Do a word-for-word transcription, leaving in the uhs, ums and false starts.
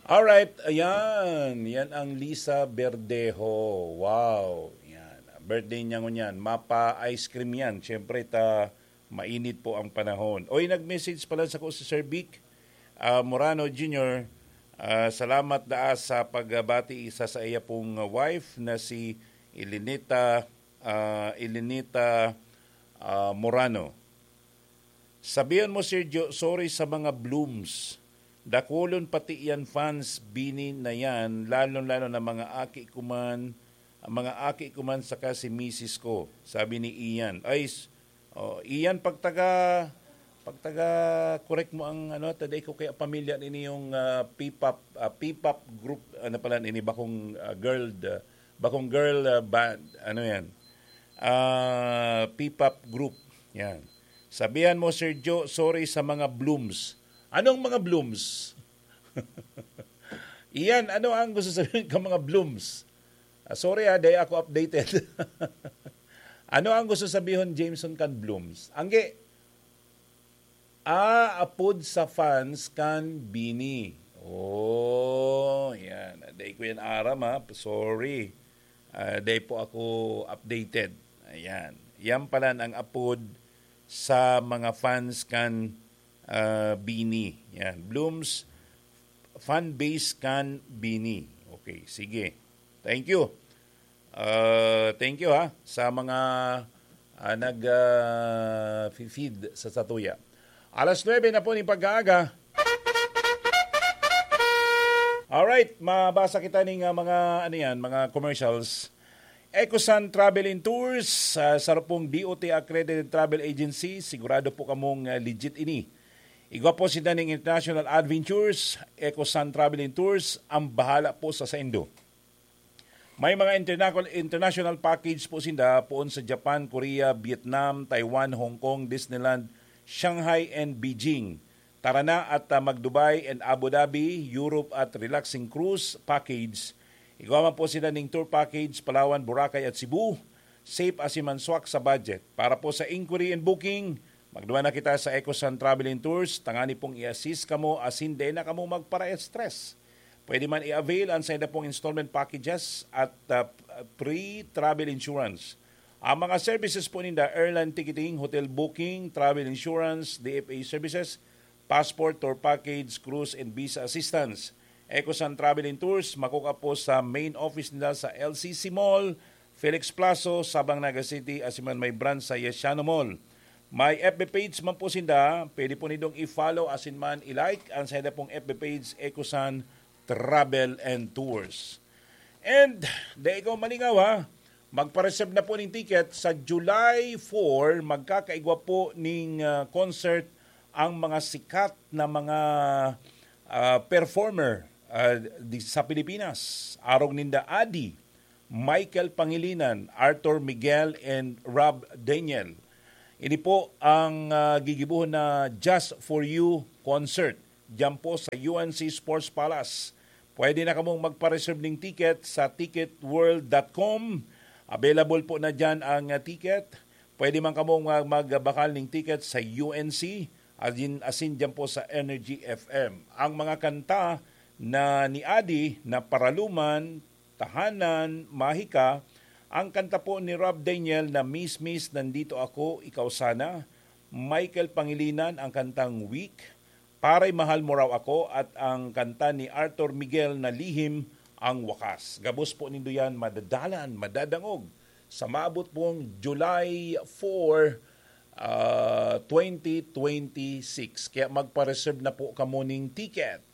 Alright, ayan. Yan ang Lisa Verdejo. Wow. Yan. Birthday niya ngunyan. Mapa ice cream yan. Siyempre, ta mainit po ang panahon. Oy, nag-message pala sa ko si Sir Vic ah, Morano Junior Ah, salamat daa sa pagbati sa sa iya pong wife na si Elinita, ah, Elinita ah, Morano. Sabihan mo, Sergio, sorry sa mga blooms. Dakulon pati yan fans, Bini na yan, lalo-lalo na mga aki ko man, ang mga aki ko man saka si misis ko, sabi ni Ian. Ay, s- oh, Ian, pagtaga, pagtaga, correct mo ang ano, taday ko kaya pamilya nini yung ah, P-pop, ah, P-pop group, ano pala nini, bakong ah, girl, ah, bakong girl ah, band, ano yan? Ah, P-pop group. Yan. Sabihan mo, Sir Joe, sorry sa mga blooms. Anong mga blooms? Ian, ano ang gusto sabihin ka mga blooms? Ah, sorry ah, di ako updated. Ano ang gusto sabihin, Jameson, kan blooms? Angge, ah, apod sa fans kan Bini. Oh, yan. Dai ko yan aram ha. Sorry. Ah, dai po ako updated. Ayan. Yan pala ang apod sa mga fans kan ah, Bini. Yan. Blooms fan base kan Bini. Okay, sige. Thank you. Ah, thank you ha sa mga ah, nag ah, fi- feed sa satuya. Alas nuebe na po ni pag-aaga. Alright, mabasa kita ning ah, mga ano yan, mga commercials. Ecosan Travel and Tours, ah, sarong D O T accredited travel agency, sigurado po kamong ah, legit ini. Igwa po sinda ning International Adventures, Ecosan Travel and Tours, ang bahala po sa saindo. May mga international, international package po sinda poon sa Japan, Korea, Vietnam, Taiwan, Hong Kong, Disneyland, Shanghai, and Beijing. Tara na at ah, mag-Dubai and Abu Dhabi, Europe at relaxing cruise package. Igwa man po sila ning tour package, Palawan, Boracay at Cebu. Safe asin manswak sa budget. Para po sa inquiry and booking, magduman na kita sa Ecosan Travel and Tours. Tangani pong i-assist kamo asin dai na kamo magpara-stress. Pwede man i-avail ang sainda pong installment packages at ah, free travel insurance. Ang mga services po ninda, airline ticketing, hotel booking, travel insurance, D F A services, passport, tour package, cruise and visa assistance. Ecosan Travel and Tours, makukuha po sa main office nila sa L C C Mall, Felix Plazo, Sabang, Naga City, asin man may branch sa Yesiano Mall. May F B page man po sinda, pwede po nindong i-follow asin man i-like ang sainda pong F B page, Ecosan Travel and Tours. And, dai ikaw malingaw ha, magpa-reserve na po ning ticket. Sa July four, magkakaigwa po ning ah, concert ang mga sikat na mga ah, performer ah, di, sa Pilipinas. Arog ninda Adi, Michael Pangilinan, Arthur Miguel, and Rob Daniel. Ini po ang ah, gigibuhon na Just For You concert diyan po sa U N C Sports Palace. Pwede na kamong magpa-reserve ning ticket sa ticket world dot com. Available po na diyan ang ah, ticket. Pwede man kamong mag- magbakal ning ticket sa U N C, asin, asin diyan po sa Energy F M. Ang mga kanta na ni Adi na Paraluman, Tahanan, Mahika, ang kanta po ni Rob Daniel na Miss Miss, Nandito Ako, Ikaw Sana, Michael Pangilinan ang kantang Weak, Paray Mahal Mo Raw Ako, at ang kanta ni Arthur Miguel na Lihim ang Wakas. Gabos po nindo yan madadalan, madadangog sa maabot pong July four, ah, twenty twenty-six. Kaya magpa-reserve na po kamo ning ticket.